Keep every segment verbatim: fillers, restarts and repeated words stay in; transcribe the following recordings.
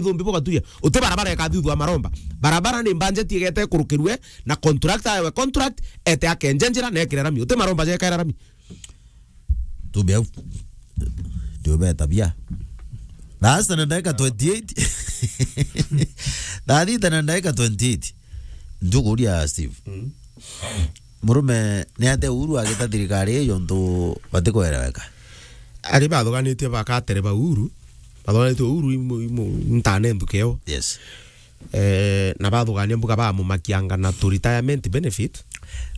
Thumbi bugatuya. Uti barabara ikathithua maromba. Barabara ni mbanjeti igete ikurukirue na contractor ewe contract, ete akenje njira na ekire rami. Uti maromba jekaira rami. Tubi au. Ndio beta bia. Thaa sita na ndagika twenty-eight. Thaa sita na ndagika twenty-eight. Njukuria Steve. Mm. Murume ni atia Uhuru agita thirikari iyo ntu batikwereweka? Ari bathuganitie bakatere ba Uhuru. Bathuganitie Uhuru imu, imu, ntane nthuke yo. Yes. Eh, na bathugania mbuga bamumakianga na tu retirement benefit.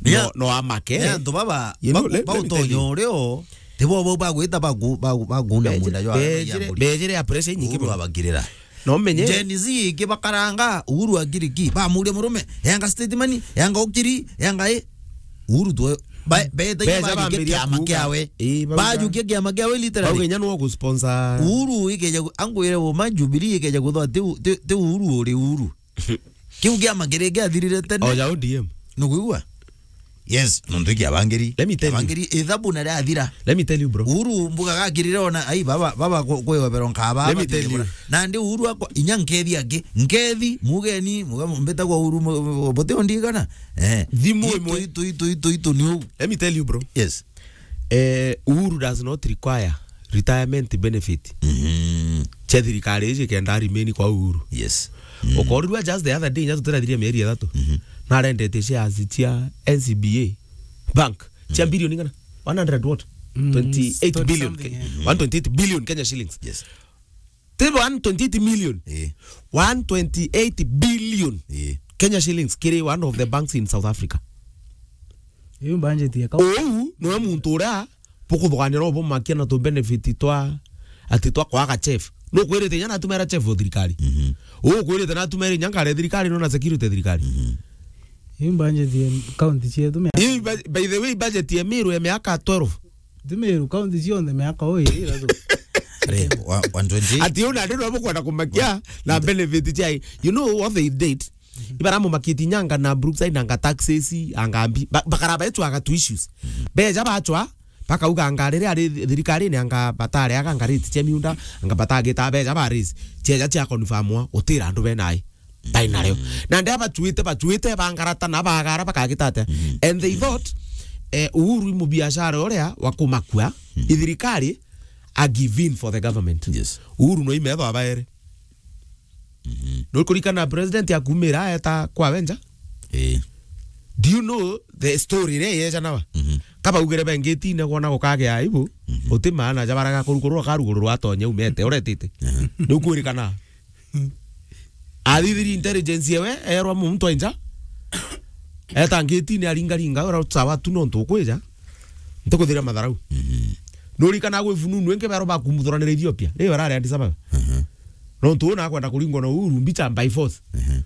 Yeah. No, no amake. Yeah, antu baba, you know, ba-, let, let me tell bautonya you. Urio, tibo bau bagwita baku-, baku-, bakuna munda jwa bejire, bejire ya pressure inyingi muno. Uhuru abakirira. No menye. Gen Z ingi bakaranga, Uhuru akiri ki? Bamuria murume, yanga statement, yanga ukiri, yanga i. Uhuru tu, ba-, beta beja bajukia bambiria kiama kuuga. Kiawe. Ii, bauga. Bajukia kiama kiawe literally. Bauga inya nwo gusponsor. Uhuru ikeja gu-, angwire uma Jubilee ikeja guthwa ti u-, ti, ti Uhuru uri Uhuru. Kiu kiama kiri kiathirire tene. Oja O D M. Nukwigua? Yes, nontu kiabangiri. Let me tell you. Kiabangiri, ithabu na riathira. Let me tell you, bro. Uhuru mbuga gakirire ona, ai, baba, baba ku-, kwewebero nkaba. Let me tell you. Nandi Uhuru akwa, inya nkethi aki. Nkethi, mugeni, muga mbeta kwa Uhuru, mu-, mu-, bote ondigana. Eh. Thimu imwe. Itu, itu, itu, itu, itu ni u. Let me tell you, bro. Yes. Eh, Uhuru does not require retirement benefit. Mhm. Cia thirikari iji kenda remain kwa Uhuru. Yes. Mm. Ukorirua just the other day, nya tutirathiria mieri ithatu. Mhm. Narendete shares cia N C B A Bank. Cia, mhm, billion ingana? One hundred what? Mm, twenty-eight billion something, Ke-, yeah. Mhm. One twenty-eight billion Kenya shillings. Yes. Ti one twenty-eight million. Eh. One twenty-eight billion, eh, Kenya shillings kiri one of the banks in South Africa. Iu budget ya kau. Uu niwe muntu uria bukuthugania no bumakia na tu benefit twa, ati twa kwaga chef. Nukwirite inya natumira chef o thirikari. Mhm. Uu ukwirite natumira inya ngari ya thirikari no na security ya thirikari. Mhm. Iu budget ya county cietu me- Ii, by, by the way, budget ya Meru ya miaka twelve. Ti Meru, county cionthe miaka uu iri ithatu. Re, wa-, one twenty. Ati una ndio bukwenda kumakia na benefit chai. You know what they did? Ibaramumakitie nyanga na Brookside anga taxes, anga mbi-, ba-, bakaraba etu aga tu issues. Beja bachwa, bakauga anga riria ari thirikarine anga batare aga anga rate cia miunda, anga batagita beja ba raise. Cheja cia confirmwa, utira andu benai. Ndai nario. Mm. Na ndia bachuite, bachuite, bangarata na bagara bakagita atia. Mm. And they thought, eh, Uhuru i mubiashara uria wa kumakua, mm, i thirikari, a give in for the government. Yes. Uhuru no imetho abaere. Mhm. Nukurikana president akumira aeta kwa wenja? Eh. Do you know the story iria yeja nawa? Mhm. Kabaugire bengitine kwona gukagea aibu, mhm, uti maana ja baraga kurukurwa karugururwa atonya umete, uretite. Aha. Nukurikana. Athithiri intelligence ewe, erwa muntu ainja. Eta ngitine aringaringa, ura sawa tu nontu ukwija. Ntikuthiria matharau. Mhm. Nurikana gwi fununu ingi bero bakumuthuranira Ethiopia. Ri barari Addis Ababa. Mhm. Nontu una akwenda kuringwa na Uhuru mbicha by force. Mhm.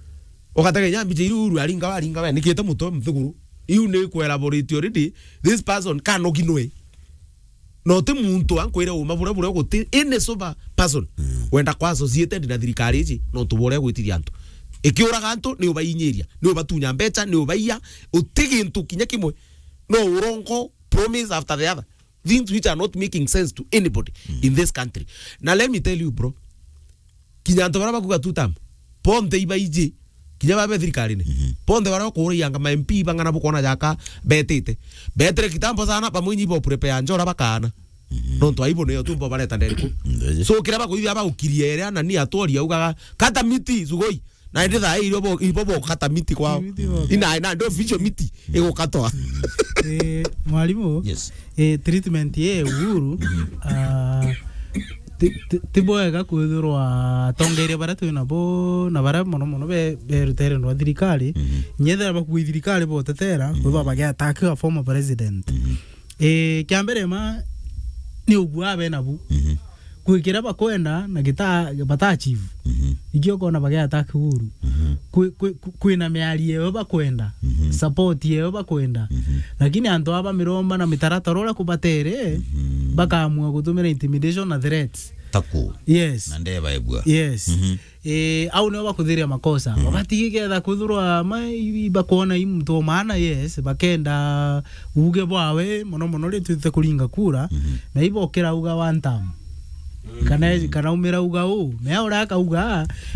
Ugatega inya mbicha iria Uhuru aringa, aringa we, nikite mutwe mthiguru. Iu ni kwelaborate already. This person kanogi nwe. No ti muntu ankwire uma buria buria guti any sober person, mm, wenda kwa associated na thirikari iji, nontu buria gwitiria antu. Ikiuraga antu, ni ubainyiria, ni ubatunya mbecha, ni ubaiya, uti gintu kinya kimwe. No urongo, promise after the other. Things which are not making sense to anybody, mm, in this country. Na let me tell you, bro, kinya antu baria bakuga two term, bonthe ibaiji, kinya babe thirikarine. Mhm. Bonthe baria bakuraianga ma M P bang'ana bukwona jaka betite. Betere kitambo sana, bamwe inyi ibo prepare njora bakana. Mhm. Nontu aibu niyo tumbo bareta nderiku. Ndeje. So, kiria bakuithia bagukiria iria na ni atwori augaga, "Kata miti, sugoi." Na indi thaa irio bo, ibo bo kata miti kwao. Miti bo. Ina, ina, ndio official miti igukatwa. Eh, mwalimu? Yes. Eh, treatment ye Uhuru, ah, ti, ti, ti bwega kwithirwa atongeria baria twi nabo na baria mono mono be, berutere ndwa thirikari, mhm, nyethera bakui thirikari botetera, mhm, kwithwa bagiattack a former president. Mhm. Eh, kia mbere ma ni ugua abe nabu. Mhm. Kwi kiria bakwenda na gita-, bata achieve. Mhm. Ikio ukona bagiattack Uhuru. Mhm. Kwi, kwi, kwi, kwina miario eyo bakwenda, mhm, support eyo bakwenda. Mhm. Lakini antu aba miromba na mitaratara uria kubatere, mhm, bakaamua gutumira intimidation na threats. Taku. Yes. Na ndeba ebua. Yes. Mhm. Eh, au nio bakuthiria makosa. Mhm. Wabati iketha kwithirwa ma, i, i, bakwona i muntu o maana, yes, bakenda uge bwawe, mono mono ri twite kuringa kura, mhm, na ibokira uga one term. Kana, kana umira uga u. Mea uria akauga,